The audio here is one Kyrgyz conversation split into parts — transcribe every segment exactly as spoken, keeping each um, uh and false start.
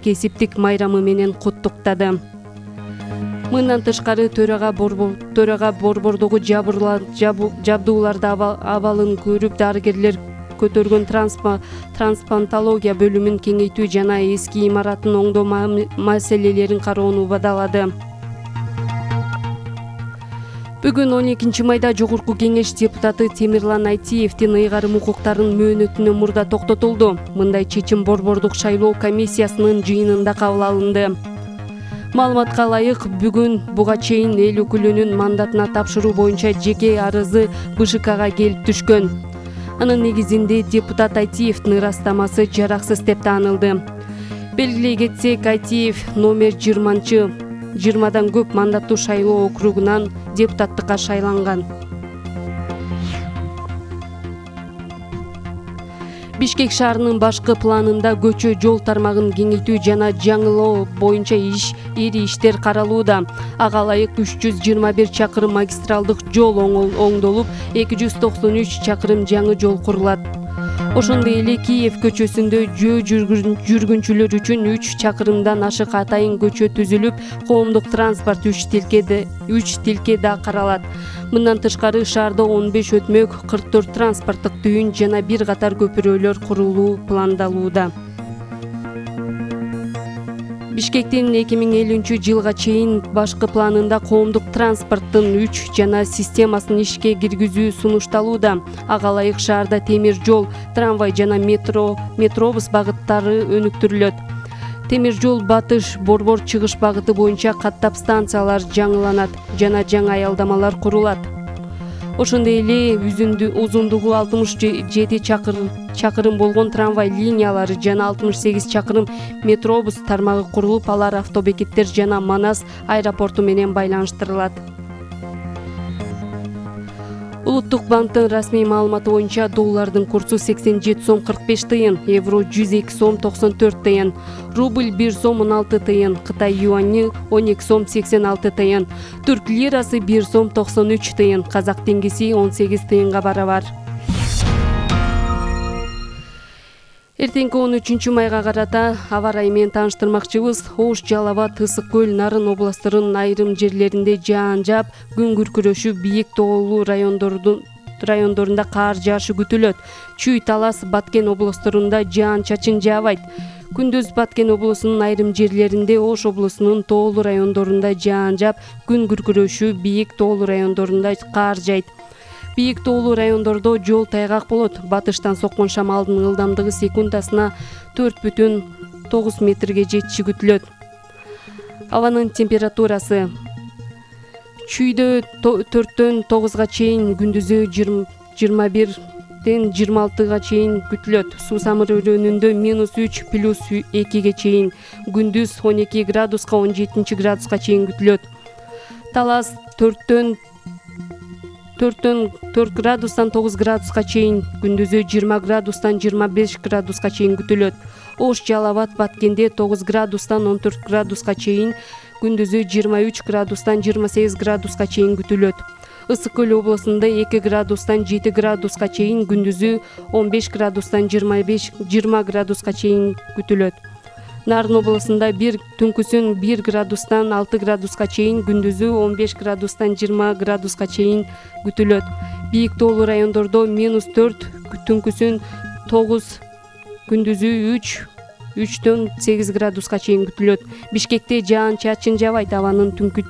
кесиптик майрамы менен куттуктады. Мындан тышкары төрага борбор төрага борбордогу жабдууларды абалын көрүп дарыгерлер көтөргөн трансплантология бөлүмүн кеңейтүү жана эски имаратын оңдоо маселелерин кароону убадалады. Бүгүн он экинчи майда Жогорку Кеңеш депутаты Темирлан Айтиевдин ыйгарым укуктарын мөөнөтүнөн мурда токтотулду. Мындай чечим борбордук шайлоо комиссиясынын жыйынында кабыл алынды. Маалыматка ылайык, бүгүн буга чейин эл өкүлүнүн мандатына тапшыруу боюнча жеке арызы БШКга келип түшкөн. Анын негизинде депутат Айтиевдин ырастамасы жараксыз деп таанылды. Белгилей кетсек, Айтиев номер жыйырманчы жыйырмадан көп мандаттуу шайлоо округунан депутаттыкка шайланган. Бишкек шаарынын башкы планында көчө жол тармагын кеңейтүү жана жаңылоо боюнча иш ири иштер каралууда. Ага ылайык үч жүз жыйырма бир чакырым магистралдык жол оңдолуп, эки жүз токсон үч чакырым жаңы жол курулат. Ошондой эле Киев көчөсүндө жөө жүргүнчүлөр үчүн үч чакырымдан ашык атайын көчө түзүлүп, коомдук транспорт үч тилке үч тилке да каралат. Мындан тышкары шаарда он беш өтмөк, кырк төрт транспорттук түйүн жана бир катар көпүрөлөр курулуу пландалууда. Бишкектин эки миң элүүнчү жылга чейин башкы планында коомдук транспорттун үч жана системасын ишке киргизүү сунушталууда. Ага ылайык шаарда темир жол, трамвай жана метро, метробус багыттары өнүктүрүлөт. Темир жол батыш борбор чыгыш багыты боюнча каттап станциялар жаңыланат жана жаңы аялдамалар курулат. Ошондой эле узундугу алтымыш жети чакырым болгон трамвай линиялары жана алтымыш сегиз чакырым метробус тармагы курулуп, алар автобекеттер жана Манас аэропорту менен байланыштырылат. Улуттук банктын расмий маалыматы боюнча доллардын курсу сексен жети сом кырк беш тыйын, евро жүз эки сом токсон төрт тыйын, рубль бир сом он алты тыйын, Кытай юани он эки сом сексен алты тыйын, түрк лирасы бир сом токсон үч тыйын, казак теңгеси он сегиз тыйынга барабар. Эртеңки он үчүнчү майга карата аба ырайы менен тааныштырмакчыбыз. Ош, Жалал Абад, Ысык көл, Нарын областтарынын айрым жерлеринде жаан жаап, күн күркүрөшү, бийик тоолуу райондорунда каар жаашы күтүлөт. Чүй, Талас, Баткен областтарында жаан чачын жаабайт. Күндүз Баткен облусунун айрым жерлеринде, Ош облусунун тоолуу райондорунда жаан жаап, күн күркүрөшү, бийик тоолуу райондорунда каар жайт. Бийик тоолуу райондордо жол тайгак болот. Батыштан соккон шамалдын ылдамдыгы секундасына төрт бүтүн тогуз метрге жетиши күтүлөт. Абанын температурасы Чүйдө төрттөн тогузга чейин, күндүзү жыйырма бирден жыйырма алтыга чейин күтүлөт. Суусамыр өрөөнүндө минус үч плюс экиге чейин, күндүз он эки градуска он жети градуска чейин күтүлөт. Талас төрттөн төрттөн төрт градустан тогуз градуска чейин, күндүзү жыйырма градустан жыйырма беш градуска чейин күтүлөт. Ош, Жалал Абад, Баткенде тогуз градустан он төрт градуска чейин, күндүзү жыйырма үч градустан жыйырма сегиз градуска чейин күтүлөт. Ысык көл облусунда эки градустан жети градуска чейин, күндүзү он беш градустан жыйырма градуска чейин күтүлөт. Нарын облусунда бир түнкүсүн бир градустан алты градуска чейин, күндүзү он беш градустан жыйырма градуска чейин күтүлөт. Бийик тоолуу райондордо минус төрт, түнкүсүн тогуз, күндүзү үч, үчтөн сегиз градуска чейин күтүлөт. Бишкекте жаан чачын жаабайт. Абанын түнкү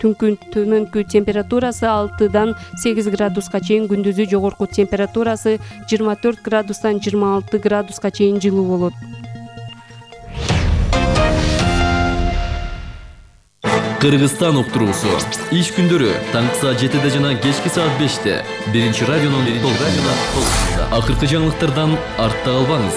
төмөнкү температурасы алтыдан сегиз градуска чейин, күндүзү жогорку температурасы жыйырма төрт градустан жыйырма алты градуска чейин жылуу болот. Кыргызстан уктуруусу иш күндөрү таңкы саат жетиде жана кечки саат беште биринчи радионун толкунунда. Акыркы жаңылыктардан артта калбаңыз.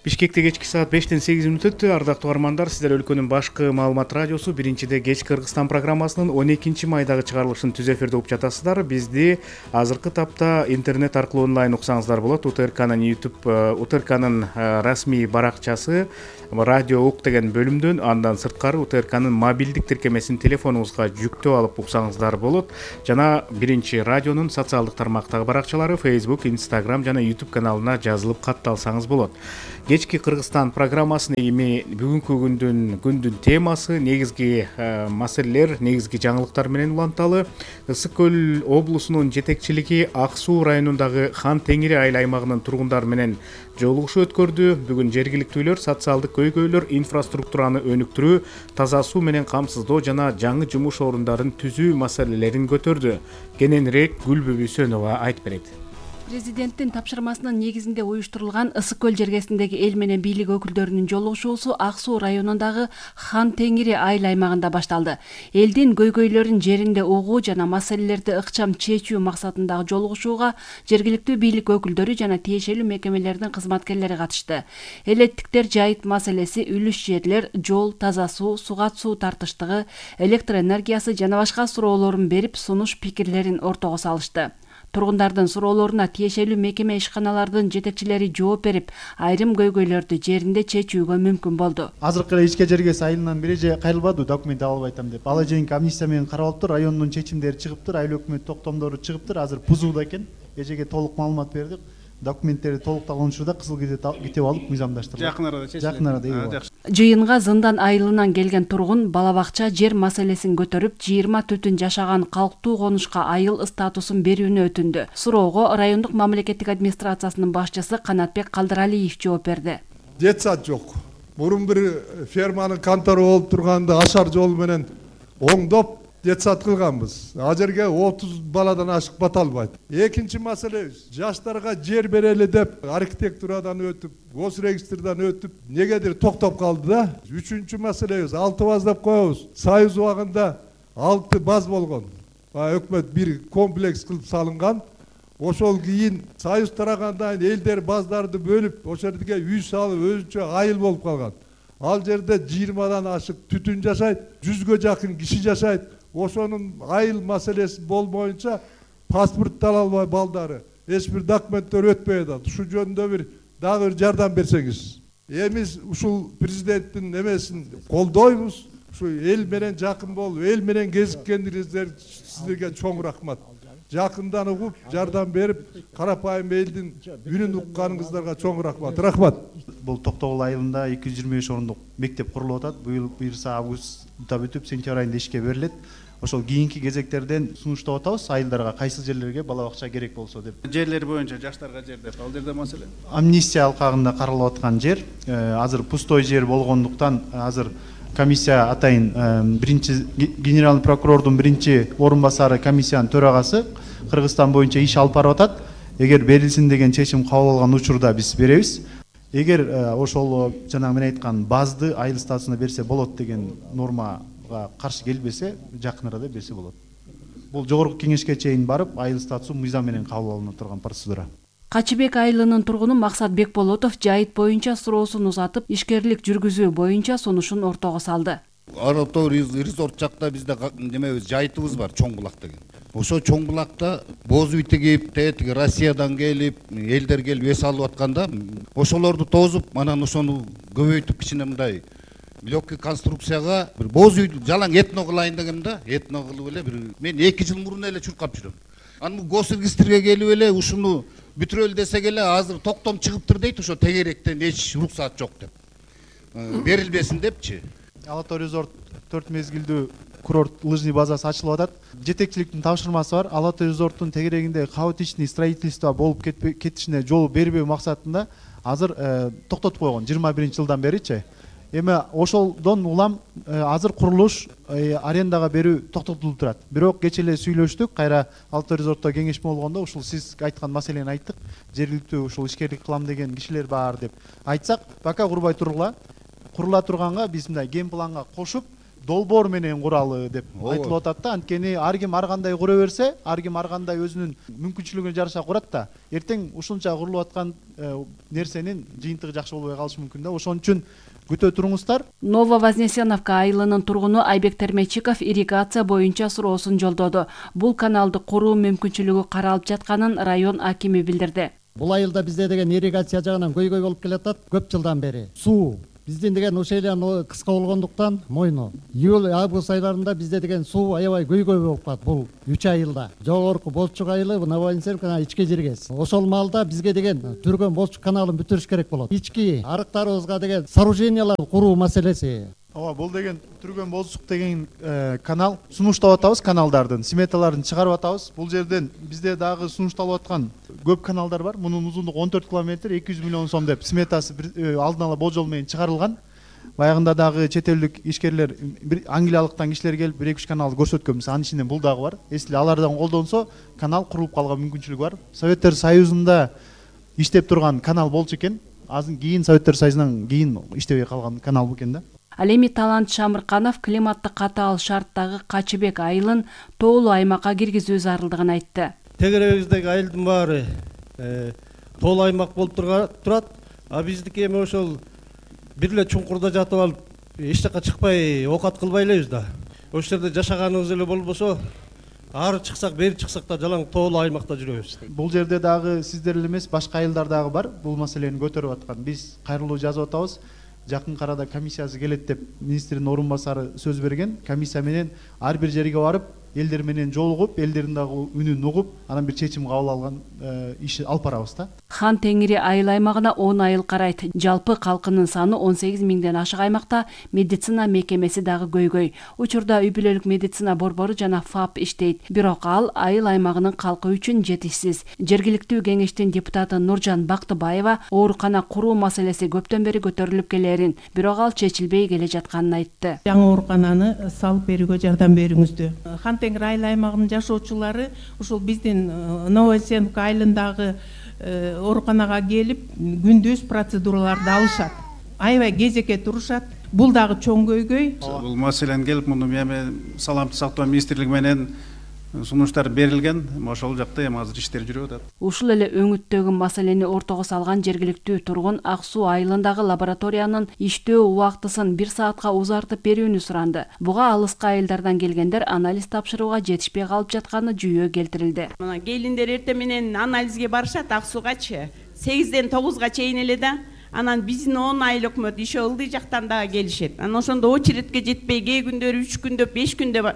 Бишкекте кечки саат бештен сегиз мүнөт өттү. Ардактуу угармандар, сиздер өлкөнүн башкы маалымат радиосу биринчиде кеч Кыргызстан программасынын он экинчи майдагы чыгарылышын түз эфирде угуп жатасыздар. Бизди азыркы тапта интернет аркылуу онлайн уксаңыздар болот. УТРКнын YouTube, УТРКнын расмий баракчасы радио ук деген бөлүмдөн, андан сырткары УТРКнын мобилдик тиркемесин телефонуңузга жүктөп алып уксаңыздар болот. Жана биринчи радионун социалдык тармактагы баракчалары Facebook, Instagram жана YouTube каналына жазылып катталсаңыз болот. кечки Кыргызстан программасына эми бүгүнкү күндүн күндүн темасы, негизги маселелер, негизги жаңылыктар менен уланталы. Ысык көл облусунун жетекчилиги Ак Суу районундагы Хан Теңири айыл аймагынын тургундары менен жолугушуу өткөрдү. Бүгүн жергиликтүүлөр социалдык көйгөйлөр, инфраструктураны өнүктүрүү, таза суу менен камсыздоо жана жаңы жумуш орундарын түзүү маселелерин көтөрдү. Кененирээк Гүлбү Бүйсөнова айтып берет. Президенттин тапшырмасынын негизинде уюштурулган Ысык көл жергесиндеги эл менен бийлик өкүлдөрүнүн жолугушуусу Ак Суу районундагы Хан Теңири айыл аймагында башталды. Элдин көйгөйлөрүн жеринде угуу жана маселелерди ыкчам чечүү максатындагы жолугушууга жергиликтүү бийлик өкүлдөрү жана тиешелүү мекемелердин кызматкерлери катышты. Элеттиктер жайыт маселеси, үлүш жерлер, жол, таза суу, сугат суу тартыштыгы, электр энергиясы жана башка суроолорун берип, сунуш пикирлерин ортого салышты. Тургундардын суроолоруна тиешелүү мекеме ишканалардын жетекчилери жооп берип, айрым көйгөйлөрдү жеринде чечүүгө мүмкүн болду. Азыркы эле ичке жергес айылынан бери же кайрылбады, документ ала албай атам деп. Ала жейинки амнистия менен каралыптыр, райондун чечимдери чыгыптыр, айыл өкмөт токтомдору чыгыптыр. Азыр пузууда экен. Эжеге толук маалымат бердик. Документтери толукталган учурда кызыл китеп алып мыйзамдаштырдык. Жакын арада чечилет. Жакын арада. Жыйынга Зындан айылынан келген тургун бала бакча жер маселесин көтөрүп, жыйырма түтүн жашаган калктуу конушка айыл статусун берүүнү өтүндү. Суроого райондук мамлекеттик администрациясынын башчысы Канатбек Калдыралиев жооп берди. Детсад жок. Мурун бир ферманын контору болуп турганда ашар жол менен оңдоп детсад кылганбыз. А жерге отуз баладан ашык бата албайт. Экинчи маселе, жаштарга жер берели деп архитектурадан өтүп, госрегистрдан өтүп, негедир токтоп калды да. Үчүнчү маселебиз, алты баз деп коебуз. Союз убагында алты баз болгон. Өкмөт бир комплекс кылып салынган. Ошол кийин союз тарагандан элдер баздарды бөлүп, ошол жерге үй салып, өзүнчө айыл болуп калган. Ал жерде жыйырмадан ашык түтүн жашайт, жүзгө жакын киши жашайт. Ошонун айыл маселеси болбоюнча паспорт ала албай балдары, эч бир документтер өтпөй атат. Ушу жөнүндө бир дагы бир жардам берсеңиз. Эми ушул президенттин эмесин колдойбуз. Ушу эл менен жакын болуп, эл менен кезиккениңиздер сиздерге чоң рахмат. Жакындан угуп, жардам берип, карапайым элдин үнүн укканыңыздарга чоң рахмат. Рахмат. Бул Токтогул айылында эки жүз жыйырма беш орундук мектеп курулуп атат. Быйыл буюрса августта бүтүп, сентябрь айында ишке берилет. Ошол кийинки кезектерден сунуштап атабыз, айылдарга кайсы жерлерге бала бакча керек болсо деп. Жерлер боюнча жаштарга жер деп, ал жерде маселе. Амнистия алкагында каралып аткан жер, азыр пустой жер болгондуктан азыр комиссия атайын биринчи генеральный прокурордун биринчи орун басары комиссиянын төрагасы Кыргызстан боюнча иш алып барып атат. Эгер берилсин деген чечим кабыл алган учурда биз беребиз. Эгер ошол жана мен айткан базды айыл статусуна берсе болот деген нормага каршы келбесе, жакын арада берсе болот. Бул жогорку кеңешке чейин барып, айыл статусу мыйзам менен кабыл алына турган процедура. Качыбек айылынын тургуну Максат Бекболотов жайыт боюнча суроосун узатып, ишкерлик жүргүзүү боюнча сунушун ортого салды. Аратор резорт жакта бизде немебиз, жайытыбыз бар, Чоң булак деген. Ошо Чоң булакта боз үй тигип, тетиги Россиядан келип, элдер келип эс алып атканда, ошолорду тозуп, анан ошону көбөйтүп кичине мындай легкий конструкцияга бир боз үйдү жалаң этно кылайын дегем да, этно кылып эле бир мен эки жыл мурун эле чуркап жүрөм. Анын госрегистрге келип эле ушуну бүтүрөлү десек эле азыр токтом чыгыптыр дейт, ошо тегеректен эч уруксаат жок деп. Берилбесин депчи. Ала Тоо резорт төрт мезгилдүү курорт лыжный базасы ачылып атат. Жетекчиликтин тапшырмасы бар. Ала Тоо резорттун тегерегинде хаотичный строительство болуп кетишине жол бербөө максатында азыр токтотуп койгон жыйырма биринчи жылдан беричи. Эми ошолдон улам азыр курулуш арендага берүү токтотулуп турат. Бирок кечээ эле сүйлөштүк, кайра Ала Тоо резортто кеңешме болгондо ушул сиз айткан маселени айттык. Жергиликтүү ушул ишкерлик кылам деген кишилер бар деп айтсак, пока курбай тургула. Курула турганга биз мындай ген планга кошуп долбоор менен куралы деп айтылып атат да. Анткени ар ким ар кандай кура берсе, ар ким ар кандай өзүнүн мүмкүнчүлүгүнө жараша курат да. Эртең ушунча курулуп аткан нерсенин жыйынтыгы жакшы болбой калышы мүмкүн да. Ошон үчүн күтө туруңуздар. Нововознесеновка айылынын тургуну Айбек Термечиков ирригация боюнча суроосун жолдоду. Бул каналды куруу мүмкүнчүлүгү каралып жатканын район акими билдирди. Бул айылда бизде деген ирригация жагынан көйгөй болуп келатат көп жылдан бери. Суу биздин деген ушейлен кыска болгондуктан мойну июль август айларында бизде деген суу аябай көйгөй болуп калат. Бул үч айылда жогорку Болчук айылы, Новоинцевка, ички жергес. Ошол маалда бизге деген түргөн Болчук каналын бүтүрүш керек болот. Ички арыктарыбызга деген сооружениялар куруу маселеси. Ооба, бул деген түргөн Болчук деген канал сунуштап атабыз, каналдардын сметаларын чыгарып атабыз. Бул жерден бизде дагы сунушталып аткан көп каналдар бар. Мунун узундугу он төрт километр, эки жүз миллион сом деп сметасы алдын ала болжол менен чыгарылган. Баягында дагы чет элдик ишкерлер, Англиялыктан кишилер келип бир эки үч каналды көрсөткөнбүз. Анын ичинен бул дагы бар. Эсли алардан колдонсо, канал курулуп калган мүмкүнчүлүгү бар. Советтер Союзунда иштеп турган канал болчу экен. Азыр кийин Советтер Союзунан кийин иштебей калган канал экен да. Ал эми Талант Шамырканов климаттык катаал шарттагы Качыбек айылын тоолуу аймакка киргизүү зарылдыгын айтты. Тегеребиздеги айылдын баары тоолуу аймак болуп турат. А биздики эми ошол бир эле чуңкурда жатып алып, эч жака чыкпай оокат кылбай элебиз да. Ошол жерде жашаганыбыз эле болбосо, ары чыксак, бери чыксак да жалаң тоолуу аймакта жүрөбүз. Бул жерде дагы сиздер эле эмес, башка айылдар дагы бар бул маселени көтөрүп аткан. Биз кайрылуу жазып атабыз. Жакын арада комиссиясы келет деп министрдин орун басары сөз берген. Комиссия менен ар бир жерге барып, элдер менен жолугуп, элдердин дагы үнүн угуп, анан бир чечим кабыл алган иши алып барабыз да. Хан Теңири айыл аймагына он айыл карайт. Жалпы калкынын саны он сегиз миңден ашык. Аймакта медицина мекемеси дагы көйгөй. Учурда үй бүлөлүк медицина борбору жана ФАП иштейт. Бирок ал айыл аймагынын калкы үчүн жетишсиз. Жергиликтүү кеңештин депутаты Нуржан Бактыбаева оорукана куруу маселеси көптөн бери көтөрүлүп келерин, бирок ал чечилбей келе жатканын айтты. Жаңы оорукананы салып берүүгө жардам бериңиздер. Хан Теңир айыл аймагынын жашоочулары ушул биздин Новоинцевка айылындагы ооруканага келип күндүз процедураларды алышат. Аябай кезекке турушат. Бул дагы чоң көйгөй. Бул маселени келип муну эми саламаттык сактоо министрлиги менен сунуштар берилген. Ошол жакта эми азыр иштер жүрүп атат. Ушул эле өңүттөгү маселени ортого салган жергиликтүү тургун Ак суу айылындагы лабораториянын иштөө убактысын бир саатка узартып берүүнү суранды. Буга алыска айылдардан келгендер анализ тапшырууга жетишпей калып жатканы жүйө келтирилди. Мына келиндер эртең менен анализге барышат Ак сугачы. сегизден тогузга чейин эле да. Анан биздин он ай өкмөт иши ылдый жактан дагы келишет. Анан ошондо очередке жетпей, кээ күндөрү үч күндө, беш күндө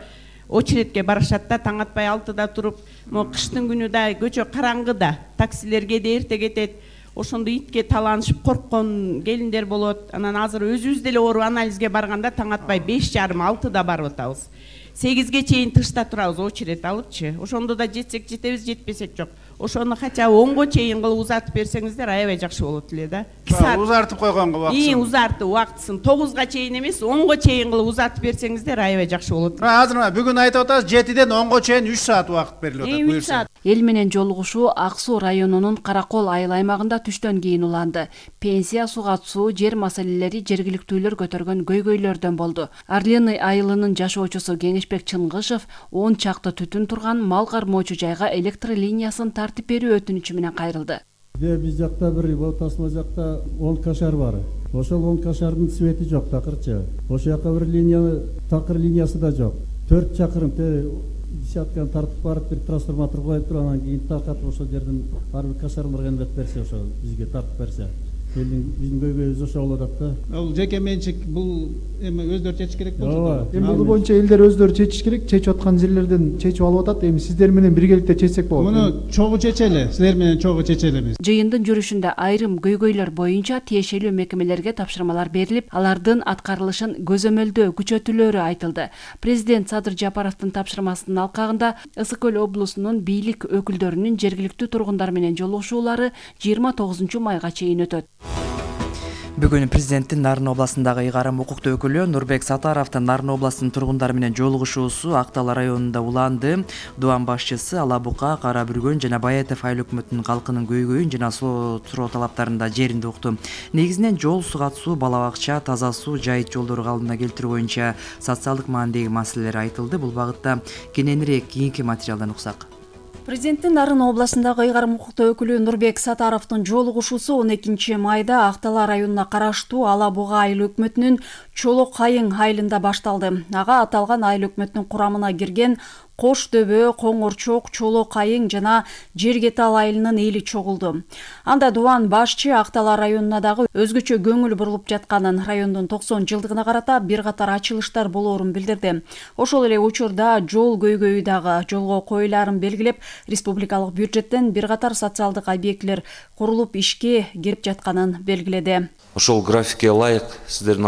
очередке барышат да, таң атпай алтыда туруп, могу кыштын күнү да көчө караңгы да, таксилерге да эрте кетет. Ошондо итке таланышып корккон келиндер болот. Анан азыр өзүбүз деле оору анализге барганда таң атпай беш жарым алтыда барып атабыз. сегизге чейин тышта турабыз очеред алыпчы. Ошондо да жетсек жетебиз, жетпесек жок. Ошону хотя бы онго чейин кылып узартып берсеңиздер аябай жакшы болот эле да. Узартып койгонго убактысын. Ии, узартып убактысын тогузга чейин эмес, онго чейин кылып узартып берсеңиздер аябай жакшы болот. Азыр бүгүн айтып атабыз, жетиден онго чейин үч саат убакыт берилип атат. үч саат. Эл менен жолугушуу Ак суу районунун Каракол айыл аймагында түштөн кийин уланды. Пенсия, сугат суу, жер маселелери жергиликтүүлөр көтөргөн көйгөйлөрдөн болду. Арлыны айылынын жашоочусу Кеңешбек Чыңгышев он чакты түтүн турган мал кармоочу жайга электр линиясын тартып берүү өтүнүчү менен кайрылды. Биз жакта бир тасма жакта он кашар бар. Ошол он кашардын свети жок, такырчы. Ошол жака бир линия, такыр линиясы да жок. төрт чакырым десятканы тартып барып бир трансформатор коюп туруп, анан кийин таркатып ошол жерден ар бир кашармарга эмлеп берсе, ошо бизге тартып берсе. Биздин көйгөйүбүз ошо болот да. Ал жеке менчик бул эми өздөрү чечиш керек болчу. Ооба. Эми бул боюнча элдер өздөрү чечиш керек. Чечип аткан жерлерден чечип алып атат. Эми сиздер менен биргеликте чечсек болот. Муну чогуу чечели, силер менен чогуу чечелибиз. Жыйындын жүрүшүндө айрым көйгөйлөр боюнча тиешелүү мекемелерге тапшырмалар берилип, алардын аткарылышын көзөмөлдөө күчөтүлөрү айтылды. Президент Садыр Жапаровдун тапшырмасынын алкагында Ысык көл облусунун бийлик өкүлдөрүнүн жергиликтүү тургундар менен жолугушуулары жыйырма тогузунчу майга чейин өтөт. Бүгүн президенттин Нарын областындагы ыйгарым укуктуу өкүлү Нурбек Сатаровдун Нарын областынын тургундары менен жолугушуусу Актал районунда уланды. Дуан башчысы Ала Бука, Кара Бүргөн жана Баятов айыл өкмөтүнүн калкынын көйгөйүн жана суу суроо талаптарында жеринде укту. Негизинен жол, сугат суу, бала бакча, таза суу, жайыт жолдору калыбына келтирүү боюнча социалдык маанидеги маселелер айтылды. Бул багытта кененирээк кийинки материалдан уксак. Президенттин Нарын областындагы ыйгарым укуктуу өкүлү Нурбек Сатаровдун жолугушуусу он экинчи майда Актал районуна караштуу Ала Буга айыл өкмөтүнүн Чолок Кайың айылында башталды. Ага аталган айыл өкмөтүнүн курамына кирген Кош дөбө, Коңорчок, Чолок айың жана Жергетал айылынын эли чогулду. Анда Дубан башчы Актала районуна дагы өзгөчө көңүл бурулуп жатканын, райондун токсон жылдыгына карата бир катар ачылыштар болоорун билдирди. Ошол эле учурда жол көйгөйү дагы жолго коюлаарын белгилеп, республикалык бюджеттен бир катар социалдык объектилер курулуп ишке кирип жатканын белгиледи. Ошол графикке ылайык сиздердин